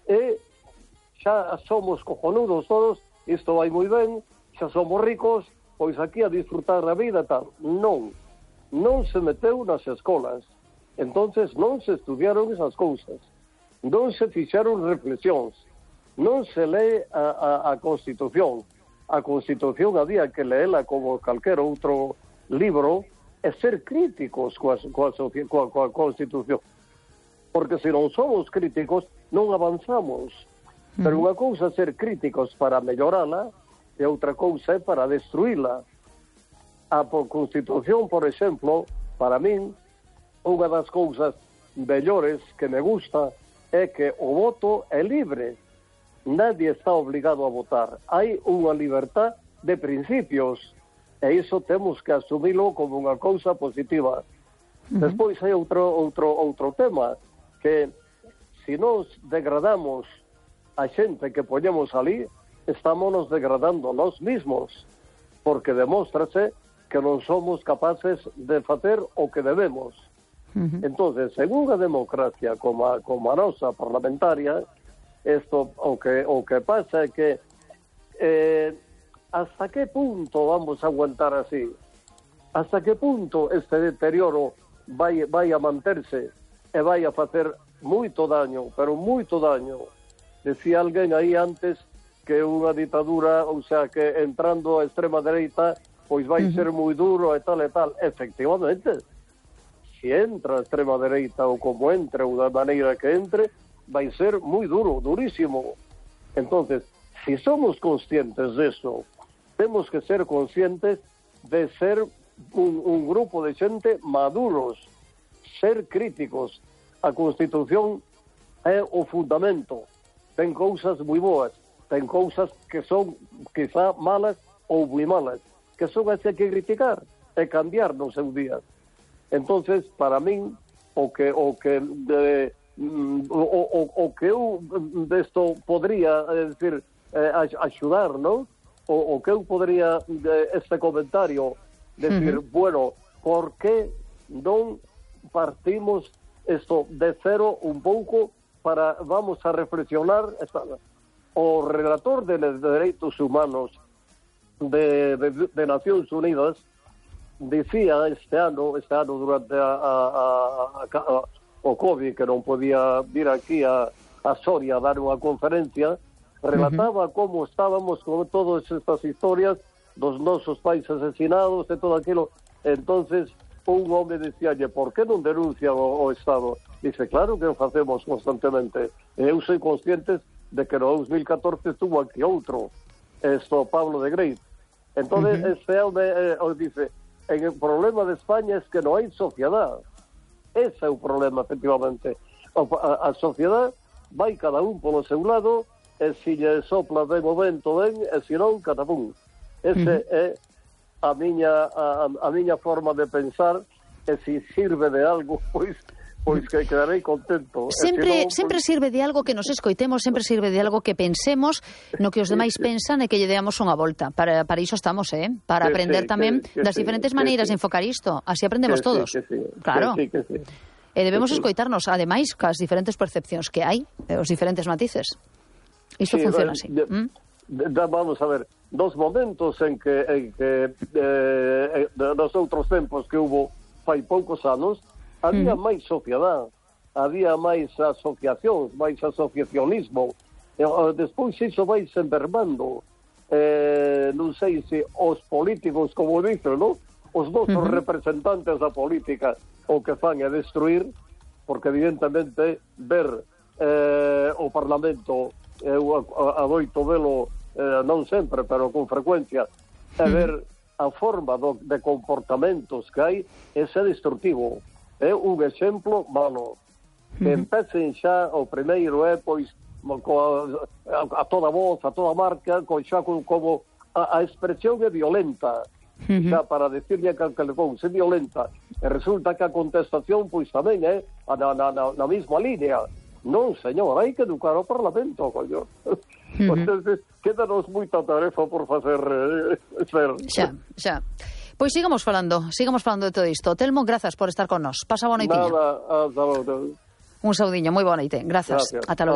e xa somos cojonudos todos, isto vai moi ben, xa somos ricos, pois aquí a disfrutar a vida tal. Non se meteu nas escolas, entonces non se estudiaron esas cousas, non se fixeron reflexións, non se lee a Constitución. A Constitución había que leela como calquer outro libro e ser críticos coa Constitución. Porque se non somos críticos, non avanzamos. Pero unha cousa é ser críticos para mellorala e outra cousa é para destruíla. A Constitución, por exemplo, para min, unha das cousas mellores que me gusta é que o voto é libre. Nadie está obligado a votar. Hai unha libertad de principios e iso temos que asumilo como unha cousa positiva. Despois hai outro tema que se nos degradamos a xente que poñemos ali, estamos degradando nós mismos, porque demóstrase que non somos capaces de facer o que debemos. Entonces, en unha democracia como a nosa parlamentaria, isto o que pasa é que hasta que punto vamos a aguantar así? Hasta que punto este deterioro vai a manterse e vai a facer moito daño, pero moito daño? Decía alguén aí antes que unha ditadura, ou sea, que entrando a extrema dereita, pois vai ser moi duro e tal e tal. Efectivamente, se entra a extrema dereita ou como entre ou da maneira que entre, vai ser moi duro, durísimo. Entonces, si somos conscientes de eso, temos que ser conscientes de ser un grupo de xente maduros, ser críticos. A Constitución é o fundamento. Ten cousas moi boas, ten cousas que son quizá malas ou moi malas, que son as que hai que criticar e cambiar no seu día. Entonces, para min, o que eu desto podría decir axudar, non? O que eu podría este comentario decir, bueno, por que non partimos isto de cero un pouco para vamos a reflexionar? O relator de Dereitos Humanos de Nacións Unidas dicía este ano durante o COVID, que non podía vir aquí a Soria a dar unha conferencia, relataba como estábamos con todas estas historias dos nosos pais asesinados e todo aquilo. Entonces un home dicíalle, por que non denuncia o Estado? Dice, claro que o facemos constantemente. Eu soy consciente de que no 2014 estuvo aquí outro, Pablo de Grey. Entonces este home dice, el problema de España es que non hai sociedade. Ese é o problema, efectivamente. A sociedade vai cada un polo seu lado, e se lle sopla ben o vento ben, e se non, catapum. Ese é a miña forma de pensar, e se sirve de algo, pois que quedarei contento. Sempre sirve de algo que nos escoitemos, sempre sirve de algo que pensemos no que os demais pensan e que lle deamos unha volta. Para iso estamos, para aprender tamén das diferentes maneiras de enfocar isto. Así aprendemos todos. Claro. E debemos escoitarnos, ademais, cas diferentes percepcións que hai, os diferentes matices. Isto funciona así. Vamos a ver, dos momentos en que nos outros tempos que hubo fai poucos anos, había máis sociedade, había máis asociacións, máis asociacionismo. Despois iso vai se envermando. Non sei se os políticos, como dicen, non? Os nosos representantes da política o que fan é destruir, porque evidentemente ver o Parlamento, eu adoito velo non sempre, pero con frecuencia, e ver a forma de comportamentos que hai, ese é destructivo. É un exemplo malo. Que empecen xa, o primeiro é, pois, a toda voz, a toda marca, xa como a expresión é violenta, xa para decirle que le cousa é violenta, e resulta que a contestación, pois, tamén é na mesma línea. Non, señor, hai que educar o Parlamento, coño. Entonces, quédanos moita tarefa por facer. Xa. Pois sigamos falando de todo isto. Telmo, grazas por estar con nós. Pasa boa noitiña. Nada, hasta logo. Un saudiño, moi boa noite. Grazas. Ata logo.